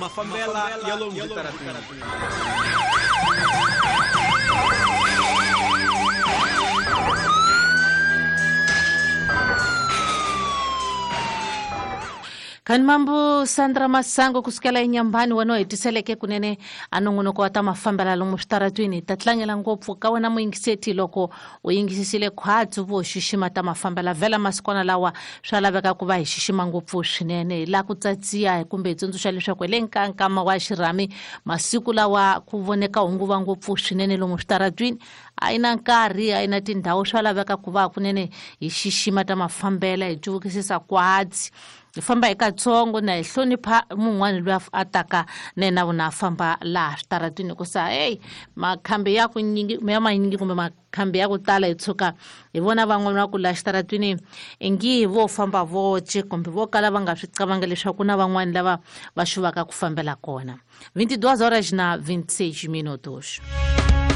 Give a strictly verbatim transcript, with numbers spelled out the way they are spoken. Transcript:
Mafambela ya lomu switarateni. Kani mambo Sandra Masango kusukela enyambani wena hetiseleke kunene a nongonoko wa ta mafambela lomu switaratwini ta tlangela ngopfu ka wena muyingiseti loko u yingisisile khwatsi vo xixima ta mafambela vhela masikwana lawa swa laveka ku va hi xixima ngopfu swinene hi laha ku tsatsiya kumbe hi tsundzuxa leswaku hi le nkankama wa xirhami masiku lawa ku voneka hunguva ngopfu swinene lomu switaratwini a yi na nkarhi a yi na tindhawu swa laveka ku va kunene hi xixima ta mafambela hi cuvukisisa kwatsi hi famba hi katsongo na hi hlonipha mun'wani loyi a taka na yena vona a famba laha switaratwini hikusa heyi makhambi ya ku nyingi ya manyingi kumbe makhambi ya ku tala hi tshuka hi vona van'wana va ku laha xitaratwini ingi vo famba voce kumbe vo kala va nga swi cavangi leswaku ku na van'wani lava va xuvaka ku fambela kona vinte e duas horas na vinte e seis minutos.